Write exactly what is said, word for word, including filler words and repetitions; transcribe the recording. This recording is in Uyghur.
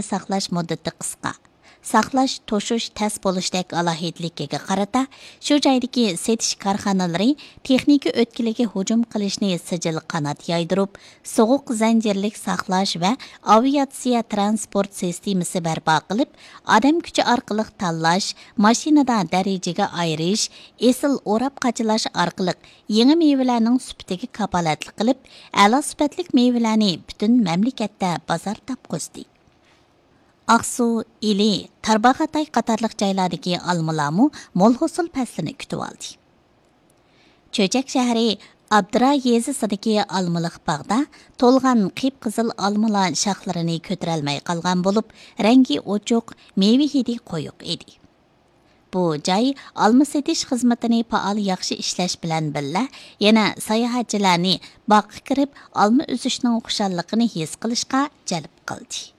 ساقلاش مۇددىتى قىسقا، ساقلاش، توشۇش تەس بولۇشتەك ئالاھىدىلىكىگە قارىتا، شۇ جايدىكى سېتىش كارخانىلىرى تېخنىكا ئۆتكىلىگە ھۇجۇم قىلىشنى سىجىل قانات يايدۇرۇپ، سوغۇق زەنجىرلىك ساقلاش ۋە ئاۋىئاتسىيە ترانسپورت سىستېمىسى بەرپا قىلىپ، ئادەم كۈچى ئارقىلىق تاللاش، ماشىنىدا دەرىجىگە ئايرىش، ئېسىل ئوراپ قاچىلاش ئارقىلىق يېڭى مېۋىلەرنىڭ سۈپىتىگە كاپالەتلىك قىلىپ، ئەلا سۈپەتلىك مېۋىلەرنى پۈتۈن مەملىكەتتە بازار تاپقۇزدى. ئاقسۇ، ئىلى، تارباغاتاي قاتارلىق جايلاردىكى ئالمىلارمۇ مول ھوسۇل پەسلىنى كۈتۈۋالدى. چۆچەك شەھىرى ئابدۇرا يېزىسىدىكى ئالمىلىق باغدا تولغان قىپقىزىل ئالمىلار شاخلىرىنى كۆتۈرەلمەي قالغان بولۇپ، رەڭگى ئوچۇق، مېۋە ھىدى قويۇق ئىدى. بۇ جاي ئالما سېتىش خىزمىتىنى پائال ياخشى ئىشلەش بىلەن بىللە، يەنە ساياھەتچىلەرنى باغقا كىرىپ ئالما ئۈزۈشنىڭ خۇشاللىقىنى ھېس قىلىشقا جەلپ قىلدى.